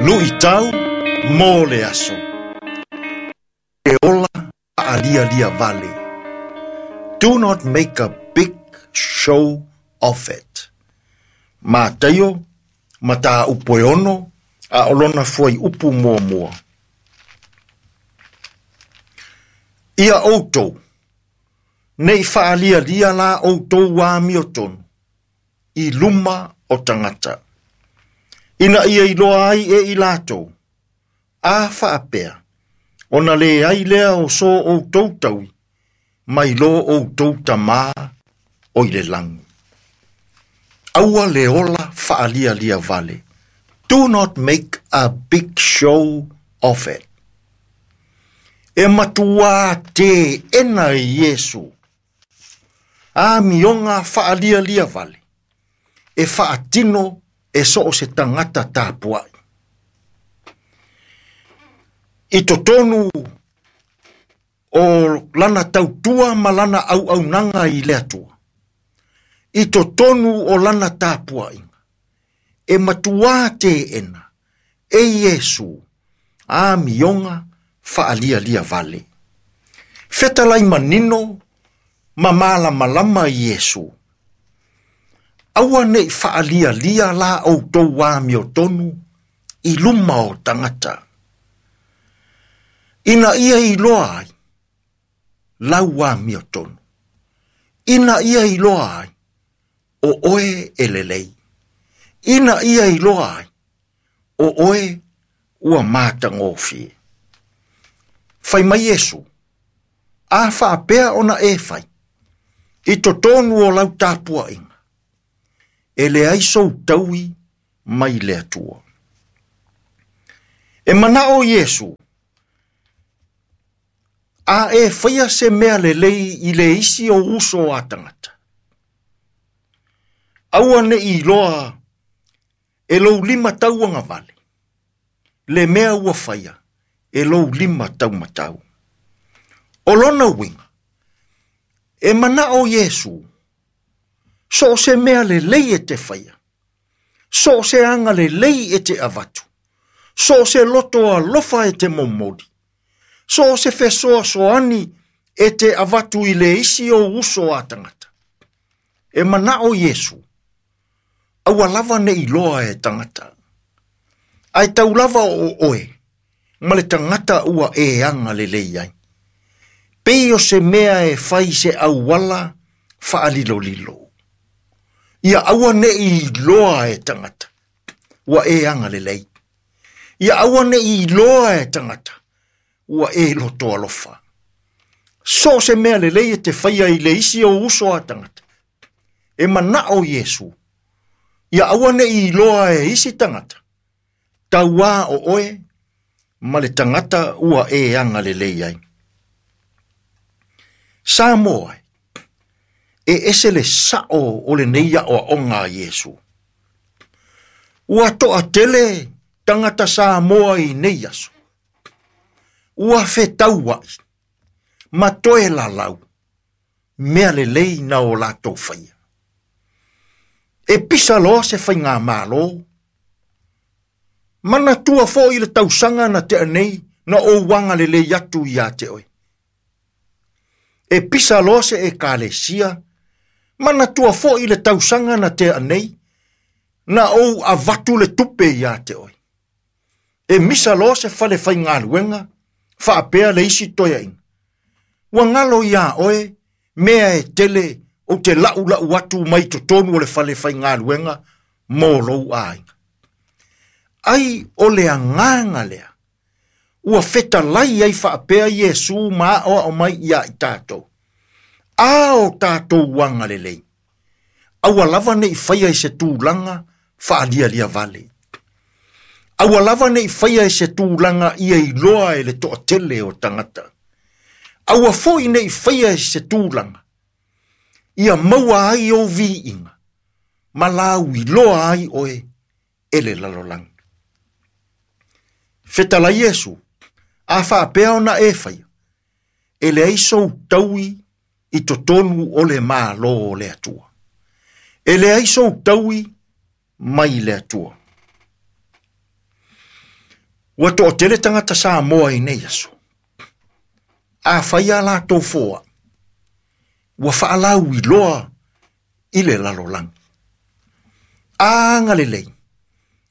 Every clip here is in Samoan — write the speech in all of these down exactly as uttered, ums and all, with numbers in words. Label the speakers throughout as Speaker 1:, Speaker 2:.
Speaker 1: Luitau mo le aso. E ola faalialia vale. Do not make a big show of it. Mataio, mataupu e ono, a o lona fuaiupu muamua. Ia outou, nei faalialia la outou amiotonu, i luma o tagata. Ina ia iloa ai e i latou, a faapea, ona le ai lea o so outou taui, mai lo outou tamā o i le lagi. Aua le ola faalialia vale. Do not make a big show of it. E matua te ena i Iesu. A mionga faalialia vale. E faatino e so o se tagata tapuai. I totonu o lana tautua ma lana auaunaga i le Atua. I totonu o lana tapuaiga. E matua te ena e Iesu a mionga faalialia vale. Fetalai manino ma malamalama Iesu. Aua nei faalialia la outou amiotonu i luma o tagata. Ina ia iloa ai lau amiotonu. Ina ia iloa ai o oe e lelei. Ina ia iloa ai o oe ua matagofie. Fai mai Iesu, a faapea ona e fai, i totonu o lau tapuaiga, e leai sou taui mai le Atua. E manao Iesu, a e faia se mea lelei i le isi o uso a tagata. Aua ne i iloa e lou lima tauagavale, le mea ua faia e lou lima taumatau. O lona uiga, e manao Iesu, so o se mea lelei e te faia, so o se aga lelei e te avatu, so o se loto alofa e te momoli, so o se fesoasoani e te avatu i le isi o uso a tagata. E manao Iesu, aua lava ne iloa e tagata. Ai tau lava o oe, ma le tagata ua e aga lelei ai. Pei o se mea e fai se auala faalilolilo. Ia aua ne iloa e tagata, ua e aga lelei. Ia aua ne iloa e tagata, ua e loto alofa. So se mea lelei e te faia i le isi o uso a tagata. E manao Iesu, ia aua ne iloa e isi tagata. Tauā o oe, ma le tagata ua e aga lelei ai. Samoa, e ese le sao o lenei aoaoga a Iesu. Ua toatele tagata Samoa i nei aso. Ua fetauai, ma toe lalau, mea lelei na o latou faia. E pisa loa se faigamalo, manatua foi le tausaga na tea nei na ou agalelei atu ia te oe. E pisa loa se ekalesia, manatua foi le tausaga na tea nei na ou avatu le tupe ia te oe. E misa loa se fale faigaluega, faapea le isi toeaiga. Ua galo iā oe, mea e tele o te la'ula'u atu mai totonu o le fale faigaluega mo lou aiga. Ai o le agaga lea, ua fetalai ai faapea Iesu ma aoao mai ia i tatou. A o tatou agalelei, aua lava nei faia i se tulaga faalialia vale. Aua lava nei faia i se tulaga ia iloa e le toatele o tagata. Aua foi nei faia i se tulaga ia maua ai ou viiga, ma lau iloa ai oe e le lalolagi. Fetalai Iesu, a faapea ona e faia, e leai sou taui i totonu o le Malo o le Atua. E leai sou taui mai le Atua. Ua toʻatele tagata Samoa i nei aso. Afai a latou foaʻi, ua faalauiloa i le lalolagi. A agalelei,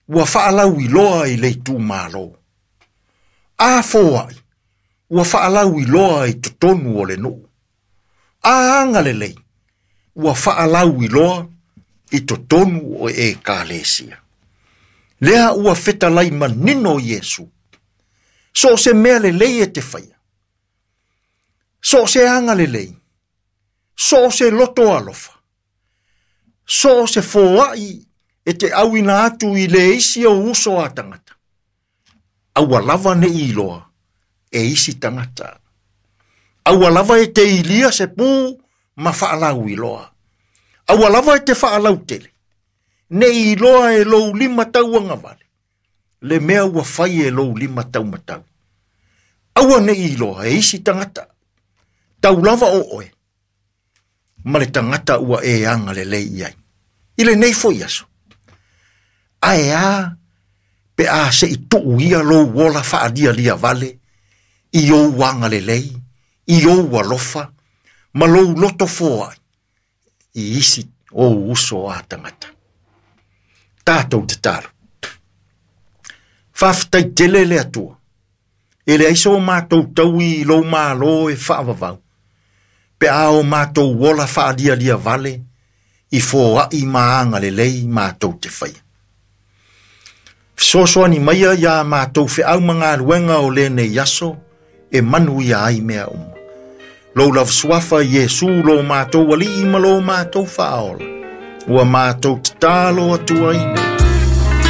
Speaker 1: ua faalauiloa i le itumālō. A foaʻi, ua faalauiloa i totonu o le nuu. A agalelei, ua faalauiloa i totonu o ekalesia. Lea ua fetalai manino Iesu. So o se mea lelei e te faia. So o se agalelei. So o se loto alofa. So o se foaʻi e te auina atu i le isi o uso a tagata. Aua lava neʻi iloa e isi tagata. Aua lava e te ilia se pu ma faalauiloa. Aua lava e te faalautele. Neʻi iloa e lou lima tauagavale. Le mea ua fai e lou lima taumatau. Aua neʻi iloa e isi tagata. Tau lava o oe. Ma le tagata ua e agalelei i ai. I lenei foi aso. Ae a pe a seʻi tuu ia lou ola faalialia vale i ou agalelei, i ou alofa, ma lou loto foaʻi i isi ou uso a tagata. Tatou tatalo. Faafetai tele le Atua. E leai so matou taui i lou Mālō e faavavau. Pe a o matou ola faalialia vale i foaʻi ma agalelei matou te faia. Fesoasoani maia iā matou feau ma galuega o lenei aso e manuia ai mea uma. Lou lava suafa Iesu lo matou Alii ma lo matou Faaola. Ua matou tatalo atu ai nei.